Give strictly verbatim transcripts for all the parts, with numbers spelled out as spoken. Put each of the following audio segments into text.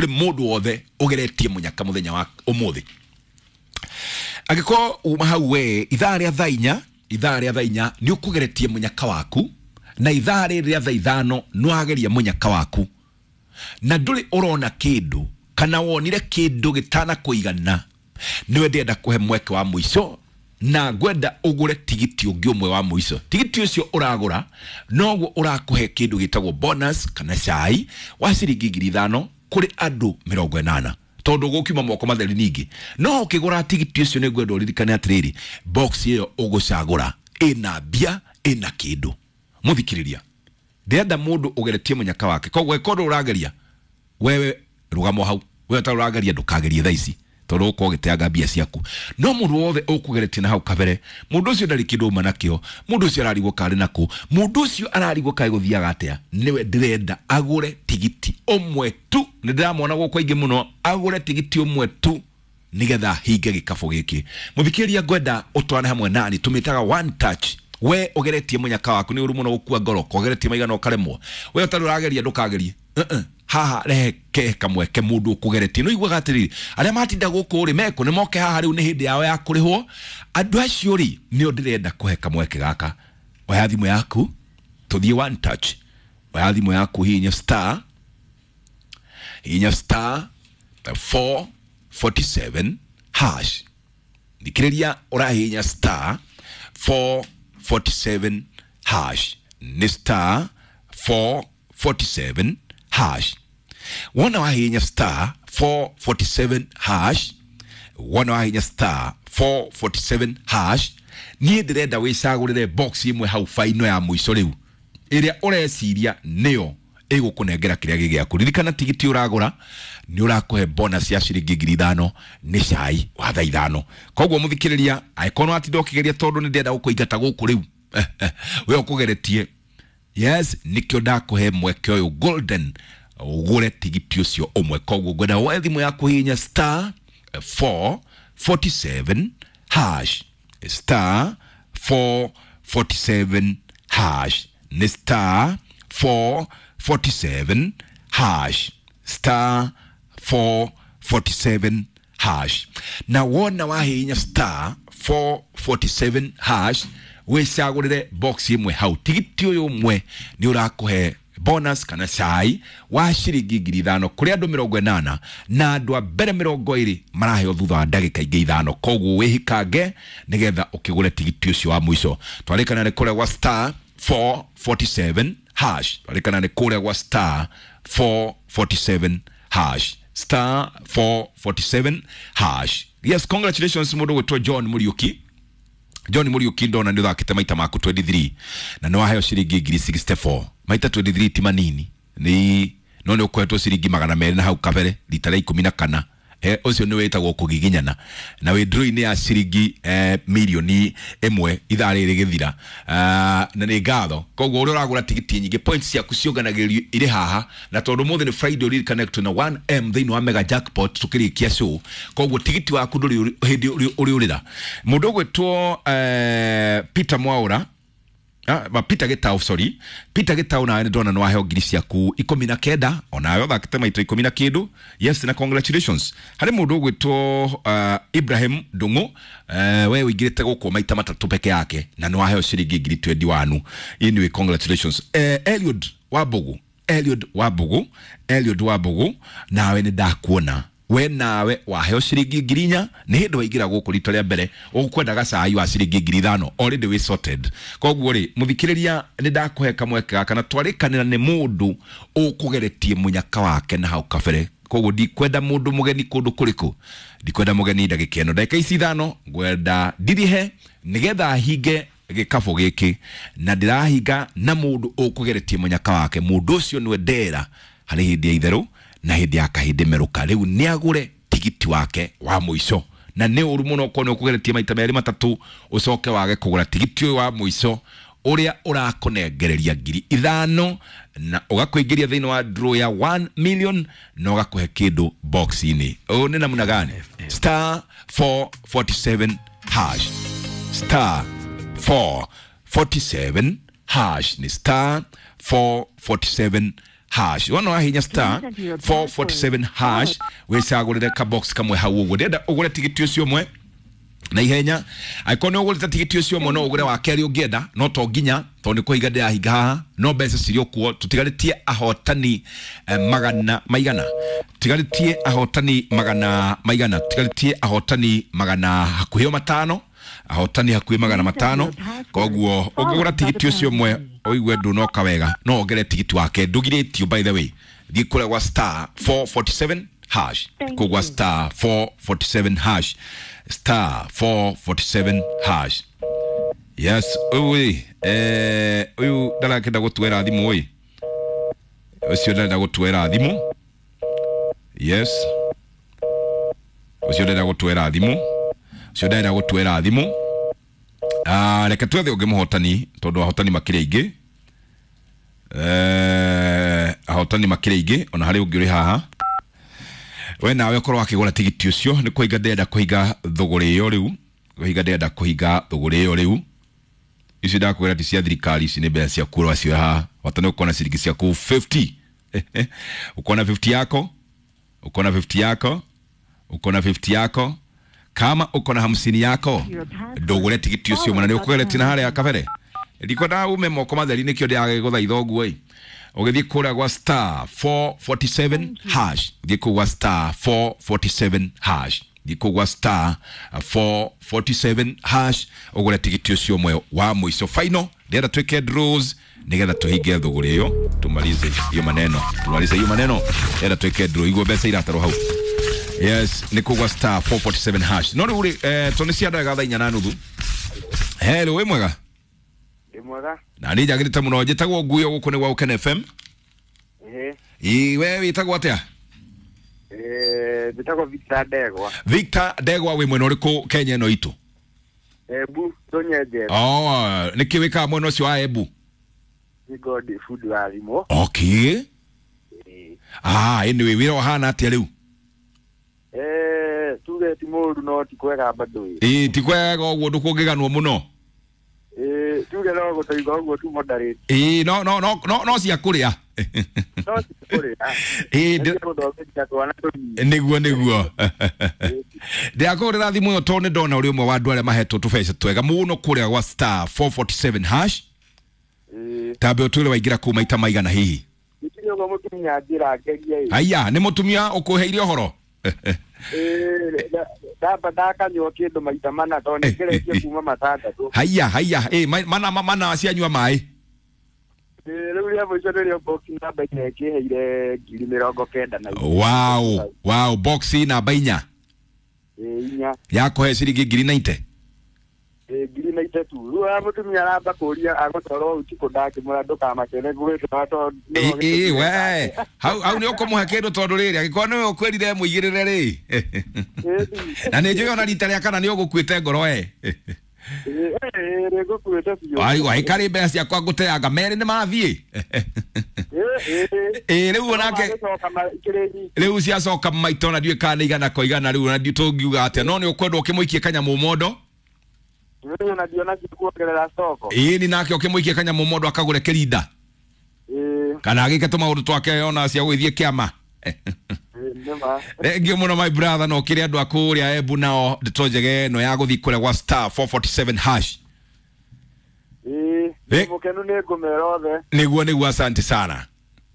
Kũrĩ mũndũ wothe ũgeretie mũnyaka mũthenya wa ũmũthĩ. Angĩkorwo uma hau we ithaa rĩa thaa inya, ithaa rĩa thaa inya nĩ ũkũgeretie mũnyaka waku, na ithaa rĩrĩ rĩa thaa ithano nĩ wageria mũnyaka waku na ndũrĩ ũrona kĩndũ kana wonire kĩndũ gĩtanakũigana, nĩwe ndĩrenda kũhe mweke wa mũico na ngwenda ũgũre tigiti ũngĩ ũmwe wa mũico. Tigiti ũcio ũragũra noguo ũrakũhe kĩndũ gĩtagwo bonus kana cai wa ciringi ngiri ithano kũrĩ andũ mĩrongo ĩnana, tondũ gũkiuma moko matheri ningĩ. No ũkĩgũra tigiti ũcio nĩ ngwenda ũririkane atĩrĩrĩ, box ĩyo ũgũcagũra ĩna mbia, ĩna kĩndũ. Mũthikĩrĩria, ndĩrenda mũndũ ũgeretie mũnyaka wake, koguo ĩkorwo ũrageria wewe rũgamo hau, wewe ũtarĩ ũrageria ndũkagerie thaa ici tondũ ũkorwo ũgĩteanga mbia ciaku. No mũndũ wothe ũkũgeretie na hau kabere, mũndũ ũcio ndarĩ kĩndũ auma nakĩo, mũndũ ũcio ararigwo karĩ nakũ, mũndũ ũcio ararigwo kaĩ gũthiaga atĩa, nĩwe ndĩrenda agũre tigiti ũmwe tu. Nĩ ndĩramona gũkũ aingĩ mũno, agũre tigiti ũmwe tu nĩgetha hinge gĩkabũ gĩkĩ. Mũthikĩrĩria, ngwenda ũtwarane hamwe nani, tũmĩtaga one touch. We ũgeretie mũnyaka waku nĩ ũru mũno gũkua ngoro, kogeretie maigana ũkaremwo. We ũtarĩ ũrageria ndũkagerie. Uh-uh. Haha rehe ke kamweke mũndũ ũkũgeretie. No iguaga atĩrĩrĩ, arĩa matinda gũkũ rĩ mekũ nĩ moke haha rĩu nĩ hĩndĩ yao ya kũrĩhwo. Andũ acio rĩ nĩo ndĩrenda kũhe kamweke gaka. Oya thimũ yaku tũthiĩ one touch. Oya thimũ yaku, hihinya star, hihinya star four forty seven hash. Thikĩrĩria, ũrahihinya star four forty seven hash, nĩ star four forty seven hash. Wona wahihinya star four forty seven hash, wona wahihinya star four forty seven hash, niĩ ndĩrenda wĩcagũrĩre box ĩmwe hau baino ya mũico rĩu ĩrĩa ũreciria nĩyo ĩgũkũnengera kĩrĩa gĩ gĩaku. Ririkana tigiti ũragũra nĩ ũrakũhe bonus ya ciringi ngiri ithano, nĩ cai wa thaa ithano. Koguo mũthikĩrĩria, angĩkorwo nĩwatinda ũkĩgeria, tondũ nĩ ndĩrenda gũkũingata gũkũ rĩu we ũkũgeretie, yes, nĩkĩo ndakũhe mweke ũyũ golden ũgũre tigiti ũcio ũmwe. Koguo ngwenda woe thimũ yaku, hihinya star four forty seven hash, star four forty seven hash, nĩ star four forty seven hash, star four forty seven hash. Na wona wahihinya star four forty seven hash, wĩcagũrĩre box ĩmwe hau. Tigiti ũyũ ũmwe nĩ ũrakũhe bonus kana cai wa ciringi ngiri ithano kũrĩ andũ mĩrongo ĩnana, na andũ a mbere mĩrongo ĩrĩ maraheo thutha wa ndagĩka ingĩ ithano. Koguo wĩhikange nĩgetha ũkĩgũre tigiti ũcio wa mũico. Twarĩkana nĩ kũrĩa gwa star four forty seven hash, twarĩkana nĩ kũrĩa gwa star four forty seven hash, star four forty seven hash. Yes, congratulations mũndũ gwĩtwo John Mũriũki. John Mũriũki, ndona nĩ ũthakĩte maita maku twenty three na nĩ waheo ciringi ngiri sixty four. Maita twenty three ti manini, nĩ no nĩ ũkoretwo ciringi magana merĩ na hau kabere rita rĩa ikũmi na kana. Eh, ũcio nĩ wĩtagwo kũgiginyana na wĩ draw-inĩ ya ciringi eh, mirioni ĩmwe ithaa rĩrĩ gĩthira. Ah, na nĩ ngatho. Koguo ũrĩa ũragũra tigiti nyingĩ, points ciaku ciũnganagĩrĩrio irĩ haha, na tondũ ũmũthĩ nĩ Friday, ũririkane twĩna one M thĩinĩ wa mega jackpot tũkĩrĩkia show. Koguo tigiti waku ndũrĩ hĩndĩ ũrĩũrĩra. Mũndũ ũgwĩtwo eh, Peter Mwaura, Ah, ma Peter Gitau, sorry. Peter Gitau, nawe nĩ ndona nĩ waheo ngiri ciaku ikũmi na kenda, onawe ũthakĩte maita ikũmi na kĩndũ. Yes, na congratulations. Harĩ mũndũ ũgwĩtwo uh, Ibrahim Ndung'u, uh, we ũingĩrĩte gũkũ maita matatũ peke yake na nĩ waheo ciringi ngiri twenty one. Anyway, congratulations. uh, Eliud Wambugu, Eliud Wambugu, Eliud Wambugu, nawe nĩ ndakuona we nawe waheo ciringi ngiri inya. Nĩ hĩndĩ waingĩra gũkũ rita rĩa mbere, ũkwendaga cai wa ciringi ngiri ithano, already wĩ sorted. Koguo rĩ, mũthikĩrĩria, nĩ ndakũhe kamweke gaka na twarĩkanĩra nĩ mũndũ ũkũgeretie mũnyaka wake na hau kabere. Koguo ndikwenda mũndũ mũgeni kũndũ kũrĩkũ, ndikwenda mũgeni ndagĩka ĩno, ndagĩka ici ithano ngwenda ndirihe nĩgetha hinge gĩkabũ gĩkĩ, na ndĩrahinga na mũndũ ũkũgeretie mũnyaka wake. Mũndũ ũcio nĩwe ndera harĩ hĩndĩ ya itherũ na hĩndĩ ya kahĩndĩ merũka. Rĩu nĩ agũre tigiti wake wa mũico, na nĩ ũru mũno ũkorwo nĩ ũkũgeretie maita merĩ matatũ ũcoke wage kũgũra tigiti ũyũ wa mũico ũrĩa ũrakũnengereria ngiri ithano na ũgakũingĩria thĩinĩ wa draw ya one million na ũgakũhe kĩndũ box-inĩ. Ũũ nĩ namna gani? Star four forty seven hash, star four forty seven hash, ni star four forty seven hash. Wona wahinya star four forty-seven hash wicagurire ka box kamwe hau uguo. Ndenda ugure tigiti ucio umwe na ihenya. Angĩkorwo nĩ ũgũrĩte tigiti ũcio ũmwe no ũgũre wa kerĩ ũngĩenda, no to nginya tondũ nĩ kũhinga ndĩrahinga haha, no mbeca cirĩ o kuo. Tũtigarĩtie ahotani eh, magana maigana, tũtigarĩtie ahotani magana maigana, tũtigarĩtie ahotani magana hakuhĩ o matano, ahotani hakuhĩ magana matano. Koguo ũngĩgũra tigiti ũcio ũmwe ũigue ndũnoka wega, no wongere tigiti wake, ndũgirĩtio by the way. Thiĩ kũrĩa gwa star four forty-seven hash, kũu gwa star four forty-seven hash, star four forty-seven hash. Yes, ũyũ eh ũyũ ndarakenda gũtuera thimũ ĩ, ũcio ndarenda gũtuera thimũ. Yes, ũcio ndarenda gũtuera thimũ, ũcio ndarenda gũtuera thimũ. Ah, reke twethe ũngĩ mũhotani tondũ ahotani makĩrĩ aingĩ. Eh, ahotani makĩrĩ aingĩ ona harĩ ũngĩ ũrĩ haha. We nawe ũkorwo akĩgũra tigiti ũcio, nĩ kũhinga ndĩrenda kũhinga thũgũrĩ ĩyo rĩu, kũhinga ndĩrenda kũhinga thũgũrĩ ĩyo rĩu. Ici ndakwĩra ti cia thirikari, ici nĩ mbeca ciaku ũracioya haha. Bata nĩ ũkona ciringi ciaku fifty. Ukona fifty yako, ukona fifty yako, ukona fifty yako. Kama ukona hamsini yako, ndũgũre tigiti ũcio mwana, nĩ ũkũgeretie na harĩa kabere. Ndikwenda ume moko matheri nĩkĩo ndĩragũthaitha ũguo ĩ. Ũgĩthiĩ kũrĩa gwa star four forty-seven hash, thiĩ kũu gwa star four forty-seven hash, thiĩ kũu gwa star four forty-seven hash ũgũre tigiti ũcio ũmwe wa mũico final. Ndĩrenda twĩke draws nĩgetha tũhinge thũgũrĩ ĩyo, tumalize hiyo maneno, tumalize hiyo maneno. Ndĩrenda twĩke draw iguo mbeca iratarwo hau. Yes, nĩ kũu gwa star four forty-seven hash. No rĩu rĩ, eh, tondũ nĩ cia ndagĩka thaa inya na nuthu. Hello, wĩ mwega? Mwega. Na nĩ njagĩrĩte mũno, njĩtagwo Nguyo, gũkũ nĩ gwa Ũkene F M. Ehe. Ĩ, we wĩtagwo atĩa? Eh, njĩtagwo Victor Ndegwa. Victor Ndegwa, wĩ mwena ũrĩkũ Kenya ĩno itũ? Embu, Tũnyenje. Oh, nĩkĩ wĩkaga mwena ũcio wa Embu? Nĩ ngodi fundi wa thimũ. Okay. Ĩĩ. Ah, anyway, wĩra ũhana atĩa rĩu? Eh, tuge ti mũru no ti kwega bado. Ĩĩ, ti kwega ũguo ndũkũngĩganwo mũno. Eh, tuge no gũtũiga ũguo tu moderate. Ĩĩ, no no no no no cia kũrĩa. No cia kũrĩa. Ĩĩ, ndĩ gũthomithia twana tũnini. Nĩguo nĩguo. Ndĩrakũhũrĩra thimũ ĩyo tondũ nĩ ndona ũrĩ ũmwe wa andũ arĩa mahetwo tũbeca twega mũno kũrĩa gwa star four forty-seven hash. Ĩĩ. Tambe ũtwĩre waingĩra kũu maita maigana hihi? Gĩtirĩ ũguo mũtumia anjĩra ngerie ĩ. Aya, nĩ mũtumia ũkũheire ũhoro? Ĩĩ, ndamba ndakanyua kĩndũ maita mana tondũ nĩ ngeretie kuma matandatũ. Haiya, haiya, ĩ, mana mana cianyua maĩ. Ĩĩ, rĩu rĩa mũico nĩrĩo box namba inya ĩkĩheire ngiri mĩrongo kenda na inya. Wow, wow, box namba inya. Ĩĩ, inya. Yakũhe ciringi ngiri ninety. Ĩĩ, ngiri ninety tu. Rĩu aya mũtumia aramba kũria agũtwarwo ũtukũ ndakĩmwĩra ndũkamakene ngũgĩtwara tondũ nĩwe Ĩĩ, ũgĩtũmire we, hau hau nĩ ũkũmũhe kĩndũ tondũ rĩrĩ angĩkorwo nĩwe ũkwĩrire mũigĩrĩre rĩ. Na nĩ njũĩ ona rita rĩa kana nĩ ũgũkuĩte ngoro we. Ĩĩ, ĩĩ, ngũkuĩte biũ. Ai, wai karĩ mbeca ciakwa ngũteanga merĩ nĩ mathiĩ. Ĩĩ, ĩĩ. Ĩĩ, rĩu onake Magĩcoka ikĩrĩ nyingĩ. Rĩu ciacoka maita ona ndiũĩ kana nĩ igana kwa igana rĩu ona ndiũĩ tũngiuga atĩa, no nĩ ũkwenda ũkĩmũikie kanyamũ mondo. Rĩu ona ndiona kuongerera stoko. Ĩĩ, ni nake ũkĩmũikie kanyamũ mondo akagũre kĩrinda. Ĩĩ. Kana agĩke tũmaũndũ twake ona cia gũgĩthiĩ kĩama. Ĩĩ, nĩma. Thank you mũno my brother, no kĩrĩ andũ a kũrĩa Embu nao ndeto njega ĩno ya gũthiĩ kũrĩa gwa star four forty-seven hash. Ĩĩ, Ĩ. mũkenu nĩ ngũmera othe. Nĩguo nĩguo, asante sana.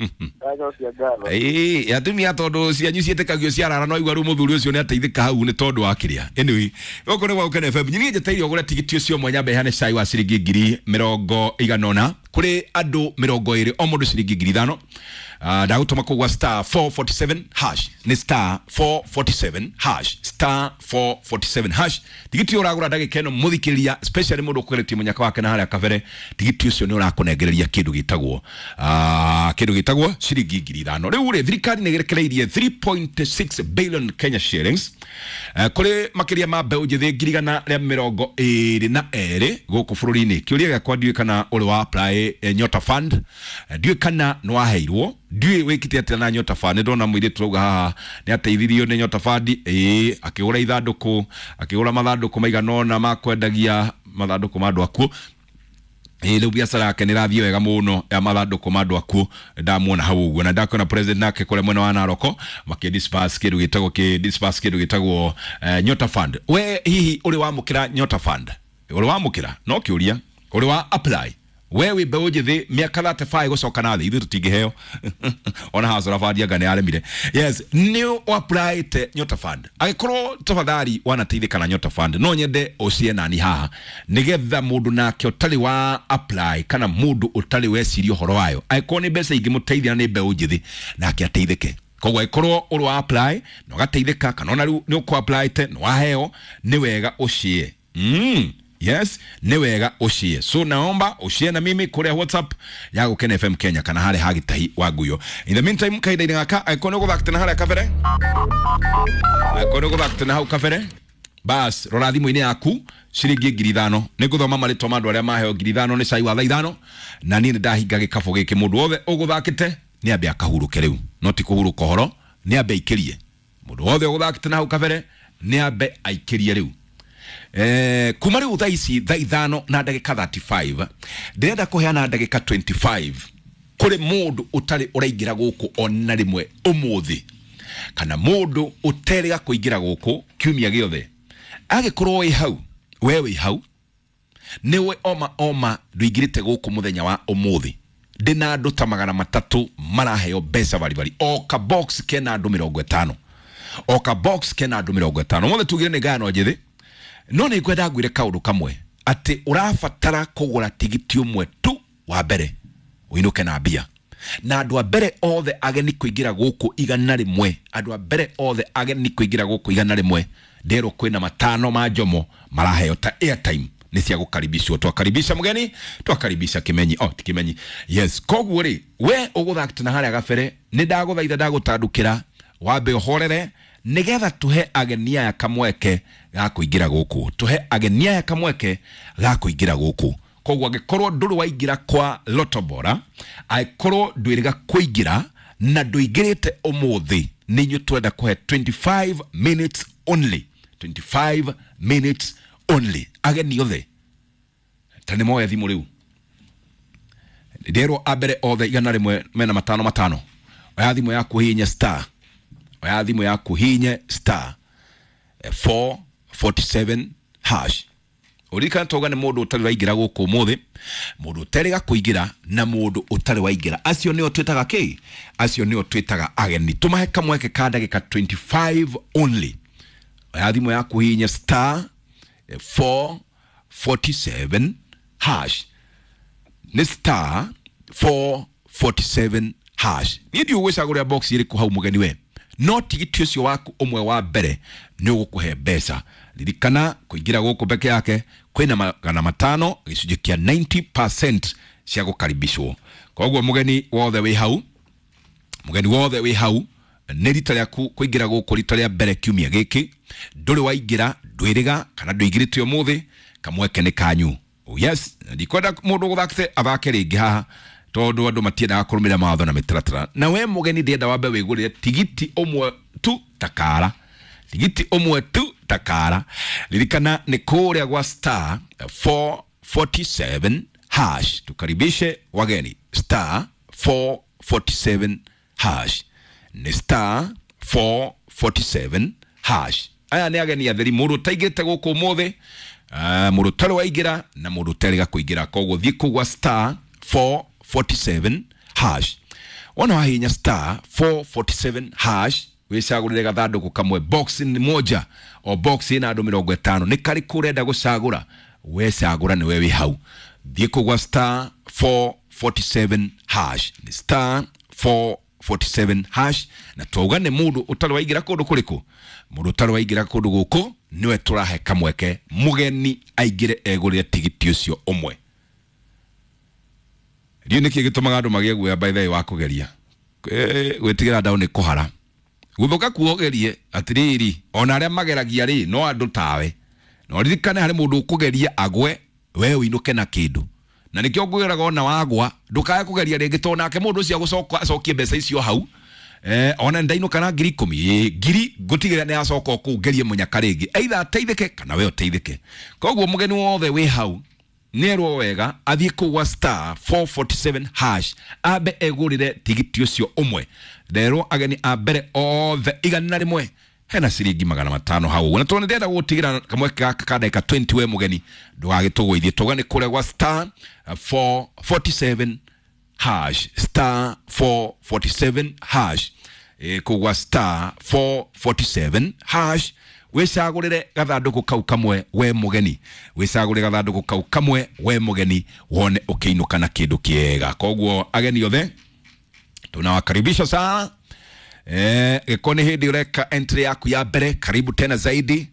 Ndacokia ngatho. Ĩĩ, atumia tondũ cianyu ciĩtĩkagio ciarara no igua rĩu mũthuri ũcio nĩ ateithĩka hau nĩ tondũ wa kĩrĩa. Anyway, gũkũ nĩ gwa Ũkene F M. Niĩ njetereire ũgũre tigiti ũcio mwanya mbeca cai wa ciringi ngiri mĩrongo igana ũna kũrĩ andũ mĩrongo ĩrĩ o mũndũ ciringi ngiri ithano. Ah, ndagũtũma kũu gwa star four forty-seven hash. Nĩ star four forty-seven hash. Star four forty-seven hash. Tigiti ũyũ ũragũra ndagĩka ĩno mũthikĩrĩria, especially mũndũ ũkũgeretie mũnyaka wake na harĩa kabere, tigiti ũcio nĩ ũrakũnengereria kĩndũ gĩtagwo, ah, kĩndũ gĩtagwo ciringi ngiri ithano. Rĩu rĩ, thirikari nĩ ĩrekereirie three point six billion Kenya shillings, eh, kũrĩ makĩria ma mbeũ njĩthĩ ngiri igana rĩa mĩrongo ĩrĩ na erĩ gũkũ bũrũri-inĩ. Kĩũria gĩakwa ndiũĩ kana ũrĩ wa apply, eh, Nyota Fund, eh, ndiũĩ kana nĩ waheirwo, ndiũĩ wĩkĩte atĩa na Nyota Fund. Nĩ ndona mũirĩtu rauga haha nĩ ateithirio nĩ Nyota Fund, ĩĩ, akĩgũra ithandũkũ, akĩgũra mathandũkũ maigana ũna ma kwendagia mathandũkũ ma andũ akuũ. Ĩ rĩu biacara yake nĩ ĩrathiĩ wega mũno ya mathandũkũ ma andũ akuũ, ndamuona hau ũguo. Na ndakuona president nake kũrĩa mwena wa Naroko makĩ disperse kĩndũ gĩtagwo kĩ disperse kĩndũ gĩtagwo eh, Nyota Fund. We hihi ũrĩ wamũkĩra Nyota Fund? Ũrĩ wamũkĩra? No kĩũria. Ũrĩ wa apply? We wĩ mbeũ njĩthĩ mĩaka thirty-five gũcoka na thĩ, ithuĩ tũtingĩheo ona hasara bandi anga nĩ aremire. Yes, nĩ applyte Nyota Fund. Angĩkorwo tafadhali wanateithĩka na Nyota Fund, no nyende ũcie nani haha nĩgetha mũndũ nake ũtarĩ wa apply kana mũndũ ũtarĩ weciria ũhoro wayo, angĩkorwo nĩ mbeca ingĩmũteithia na nĩ mbeũ njĩthĩ, nake ateithĩke. Koguo angĩkorwo ũrĩ wa apply na ũgateithĩka, kana ona rĩu nĩ ũkũ applyte na waheo, nĩ wega ũcie. Mm. Yes, nĩ wega ũcie. So naomba ũcie na mimi kũrĩa WhatsApp ya Gũkena F M Kenya kana harĩa ha Gĩtahi wa Nguyo. In the meantime, kahinda-inĩ gaka angĩkorwo nĩ ũgũthakĩte na harĩa kabere, angĩkorwo nĩ ũgũthakĩte na hau kabere, bas rora thimũ-inĩ yaku ciringi ngiri ithano. Nĩ ngũthoma marĩtwa ma andũ arĩa maheo ngiri ithano nĩ cai wa thaa ithano, na niĩ nĩ ndahinga gĩkabũ gĩkĩ. Mũndũ wothe ũgũthakĩte nĩ ambe akahurũke rĩu, no ti kũhurũka ũhoro, nĩ ambe aikĩrie. Mũndũ wothe ũgũthakĩte na hau kabere nĩ ambe aikĩrie rĩu. Eh, kuma rĩu thaa ici thaa ithano na ndagĩka thirty-five, ndĩrenda kũheana ndagĩka twenty-five kũrĩ mũndũ ũtarĩ ũraingĩra gũkũ ona rĩmwe ũmũthĩ, kana mũndũ ũterĩga kũingĩra gũkũ kiumia gĩothe. Angĩkorwo wĩ hau, we wĩ hau, nĩwe oma oma ndũingĩrĩte gũkũ mũthenya wa ũmũthĩ, ndĩna andũ ta magana matatũ maraheo mbeca baribari. O ka box kena andũ mĩrongo ĩtano, o ka box kena andũ mĩrongo ĩtano. Mothe tugire nĩ ngayano njĩthĩ, no nĩ ngwenda ngwĩre kaũndũ kamwe, atĩ ũrabatara kũgũra tigiti ũmwe tu wa mbere ũinũke na mbia. Na andũ a mbere othe ageni kũingĩra gũkũ igana rĩmwe, andũ a mbere othe ageni kũingĩra gũkũ igana rĩmwe, nderwo kwĩna matano ma njomo maraheo ta airtime nĩ cia gũkaribishwo. Twakaribisha mũgeni, twakaribisha Kĩmenyi. Oh, ti Kĩmenyi. Yes, koguo rĩ, we ũgũthakĩte na harĩa gabere, nĩ ndagũthaitha ndagũtandũkĩra wambe ũhorere nĩgetha tũhe ageni aya kamweke ga kũingĩra gũkũ, tũhe ageni aya kamweke ga kũingĩra gũkũ. Koguo angĩkorwo ndũrĩ waingĩra kwa Lotto Bora, angĩkorwo ndwĩrĩga kũingĩra na ndũingĩrĩte ũmũthĩ, nĩ inyuĩ twenda kũhe twenty-five minutes only, twenty-five minutes only. Ageni othe ta nĩ moe thimũ rĩu, nderwo a mbere othe igana rĩmwe mena matano matano. Oya thimũ yaku hihinye star, oya thimũ yaku hihinye star four forty-seven hash. Ũririkane twauga nĩ mũndũ ũtarĩ waingĩra gũkũ ũmũthĩ, mũndũ ũterĩga kũingĩra na mũndũ ũtarĩ waingĩra, acio nĩo twĩtaga kĩ? Acio nĩo twĩtaga ageni. Tũmahe kamweke ka ndagĩka twenty-five only. Oya thimũ yaku hihinye star four forty-seven hash, nĩ star four forty-seven hash. Niĩ ndiũĩ gwĩcagũrĩra box ĩrĩkũ hau mũgeni we, no tigiti ũcio waku ũmwe wa mbere nĩ ũgũkũhe mbeca. Ririkana kũingĩra gũkũ peke yake kwĩna magana matano gĩcunjĩ kĩa ninety percent cia gũkaribishwo. Koguo mũgeni wothe wĩ hau, mũgeni wothe wĩ hau, nĩ rita rĩaku kũingĩra gũkũ rita rĩa mbere kiumia gĩkĩ, ndũrĩ waingĩra, ndwĩrĩga kana ndũingĩrĩte ũmũthĩ, kamweke nĩ kanyu. Oh yes, ndikwenda mũndũ ũgũthakĩte athake rĩngĩ haha, tondũ andũ matiendaga kũrũmĩrĩra mawatho na mĩtaratara. Na we mũgeni ndĩrenda wambe wĩgũrĩre tigiti ũmwe tu takara, tigiti ũmwe tu takara. Ririkana nĩ kũrĩa gwa star four forty-seven hash. Tukaribishe wageni star four forty-seven hash, nĩ star four forty-seven hash. Aya nĩ ageni atheri, mũndũ ũtaingĩrĩte gũkũ ũmũthĩ, uh, mũndũ ũtarĩ waingĩra na mũndũ ũterĩga kũingĩra. Koguo thiĩ kũu gwa star four forty-seven hash. Wona wahihinya star four forty-seven hash, wĩcagũrĩre gathandũkũ kamwe, box nĩ moja o box ĩna andũ mĩrongo ĩtano, nĩ karĩkũ ũrenda gũcagũra? Wecagũra nĩwe wĩ hau. Thiĩ kũu gwa star four forty-seven hash, nĩ star four forty-seven hash. Na twauga nĩ mũndũ ũtarĩ waingĩra kũndũ kũrĩkũ? Mũndũ ũtarĩ waingĩra kũndũ gũkũ nĩwe tũrahe kamweke mũgeni aingĩre egũrĩre tigiti ũcio ũmwe. Ndiũĩ nĩkĩ gĩtũmaga andũ magĩe guoya by the way wa kũgeria. Eh, gwĩtigĩra ndaũ nĩ kũhara. Gũthũka kuogerie atĩrĩrĩ, ona arĩa mageragia rĩ no andũ tawe. No ririkane harĩ mũndũ ũkũgeria agwe, we ũinũke na kĩndũ. Na nĩkĩo ngwĩraga ona wagwa ndũkae kũgeria rĩngĩ, tondũ nake mũndũ ũcio agũcoka acokie mbeca icio hau. Eh, ona ndainũka na ngiri ikũmi, ĩ, ngiri ngũtigĩrĩra nĩ acoka kũu ngerie mũnyaka rĩngĩ, either ateithĩke kana we ũteithĩke. Koguo mũgeni wothe wĩ hau nĩerwo wega athiĩ kũu gwa star four forty-seven hash ambe egũrĩre tigiti ũcio ũmwe. Nderwo ageni a mbere othe igana rĩmwe hena ciringi magana matano hau. Na tondũ ndĩrenda gũgũtigĩra kamweke gaka ka ndagĩka twenty we mũgeni ndũgagĩtũgũithie. Tauga nĩ kũrĩa gwa star four forty-seven hash, star four forty-seven hash, e, kũu gwa star four forty-seven hash wĩcagũrĩre gathandũkũ kau kamwe we mũgeni, wĩcagũrĩre gathandũkũ kau kamwe we mũgeni wone ũkĩinũka na kĩndũ kĩega. Koguo ageni othe tunawakaribisha sana. Eh, gĩkorwo nĩ hĩndĩ ũreka entry yaku ya mbere, karibu tena zaidi.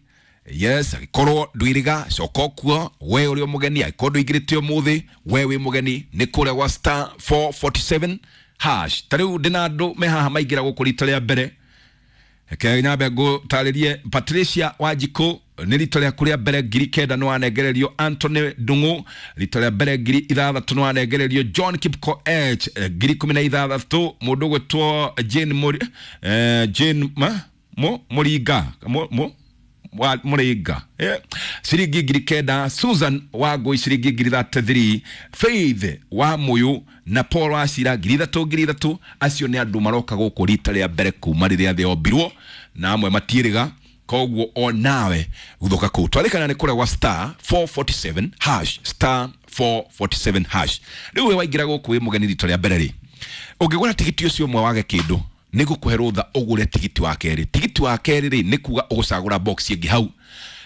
Yes, angĩkorwo ndwiriga coka kuo we ũrĩ o mũgeni, angĩkorwo ndũingĩrĩte ũmũthĩ we wĩ mũgeni nĩ kũrĩa gwa star four forty-seven hash. Ta rĩu ndĩna andũ me haha maingĩra gũkũ rita rĩa mbere. Reke nyambe ngũtarĩrie Patricia Wanjikũ nĩ rita rĩaku rĩa mbere ngiri kenda nĩ wanengererio. Anthony Ndung'u rita rĩa mbere ngiri ithathatũ nĩ wanengererio. John Kipkoech ngiri ikũmi na ithathatũ. Mũndũ ũgwĩtwo Jane Muri, eh, Jane ma, Mo, Mũringa Mo, Mo, wa Mũringa eh, ciringi ngiri kenda. Susan Wangũi ciringi ngiri thirty-three. Faith wa Muyu na Paul Wacira ngiri ithatũ ngiri ithatũ. Acio nĩ andũ maroka gũkũ rita rĩa mbere kuma rĩrĩa thĩ yombirwo na amwe matiĩrĩga. Koguo o nawe guthoka kũu twarĩkana nĩ kũrĩa gwa star four forty-seven hash, star four forty-seven hash. Rĩu we waingĩra gũkũ wĩ mũgeni rita rĩa mbere rĩ, ũngĩgũra tigiti ũcio ũmwe wage kĩndũ nĩ ngũkũhe rũtha ũgũre tigiti wa kerĩ. Tigiti wa kerĩ rĩ nĩ kuga ũgũcagũra box ĩngĩ hau.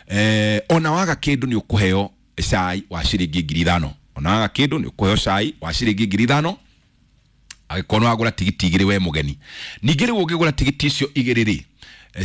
Eh, ona waga kĩndũ nĩ ũkũheo cai wa ciringi ngiri ithano. Ona waga kĩndũ nĩ ũkũheo cai wa ciringi ngiri ithano angĩkorwo nĩ wagũra tigiti igĩrĩ we mũgeni. Ningĩ rĩu ũngĩgũra tigiti icio igĩrĩ rĩ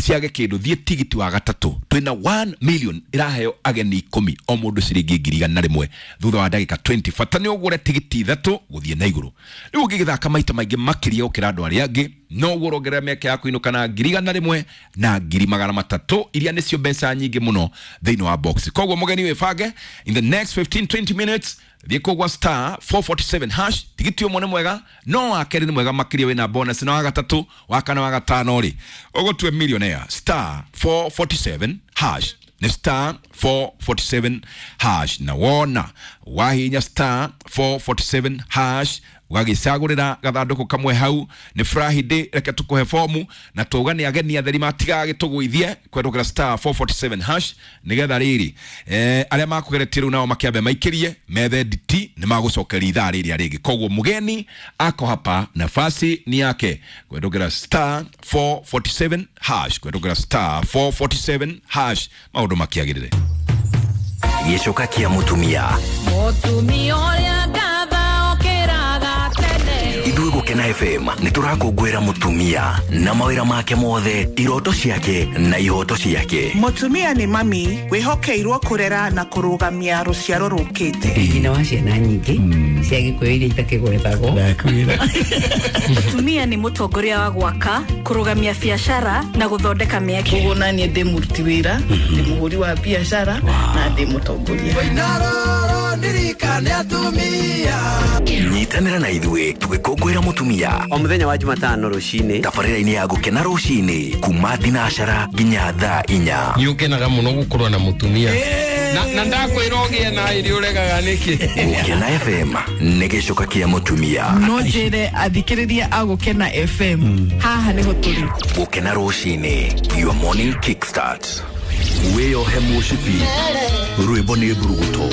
ciage kĩndũ, thiĩ tigiti wa gatatũ twĩna one million ĩraheo ageni ikũmi o mũndũ ciringi ngiri igana rĩmwe thutha wa ndagĩka twenty. Bata nĩ ũgũre tigiti ithatũ gũthiĩ na igũrũ. Rĩu ũngĩgĩthaka maita maingĩ makĩria gũkĩra andũ arĩa angĩ noguo ũrongerera mĩeke ya kũinũka na ngiri igana rĩmwe na ngiri magana matatũ iria nĩcio mbeca nyingĩ mũno thĩinĩ wa box. Koguo mũgeni wĩbange in the next fifteen twenty minutes thiĩ kũu gwa star four forty-seven hash. Tigiti ũmwe nĩ mwega no wa kerĩ nĩ mwega makĩria wĩna bonus, na wa gatatũ wa kana wa gatano rĩ ũgũtue millionaire. Star four forty-seven hash nĩ star four forty-seven hash, na wona wahinya star four forty-seven hash ũgagĩcagũrĩra gathandũkũ kamwe hau. Nĩ Friday, reke tũkũhe fomu na tuuga nĩ ageni atheri matigagĩtũgũithie kwendũkĩra star four forty-seven hash nĩgetha rĩrĩ eh, arĩa makũgeretie rĩu nao makĩambe maikĩrie methe nditi nĩ magũcokeria ithaa rĩrĩa rĩngĩ. Koguo mũgeni ako hapa nafasi ni yake kwendũkĩra star four forty-seven hash, kwendũkĩra star four forty-seven hash maũndũ makĩagĩrĩre. Gĩcoka kĩa mũtumia mũtumia ũrĩa ithuĩ Gũkena F M nĩ tũrakũngũĩra mũtumia na mawĩra make mothe, iroto ciake na ihoto ciake. Mũtumia nĩ mami wĩhokeirwo kũrera na kũrũgamia rũciaro rũkĩte. Nyina wa ciana nyingĩ cia Gĩkũyũ iria itakĩgwetagwo. Mũtumia nĩ mũtongoria wa gwaka, kũrũgamia biacara na gũthondeka mĩeke. Koguo naniĩ ndĩ mũruti wĩra, ndĩ mũhũri wa biacara na ndĩ mũtongoria. Nyitanĩra na ithuĩ tũgĩkũngũĩra mũtumia o mũthenya wa Jumatano rũcinĩ tabarĩra-inĩ ya Gũkena rũcinĩ kuma thinacara nginya thaa inya. Nĩ ũkenaga mũno gũkorwo na mũtumia na na ndakwĩra ũgĩe na irio ũregaga nĩkĩ. Gũkena F M nĩ gĩcoka kĩa mũtumia. No njĩre athikĩrĩria a Gũkena F M haha nĩho tũrĩ. Gũkena rũcinĩ, your morning kickstart. Wĩyohe mũcibi rwĩmbo nĩ mburuguto.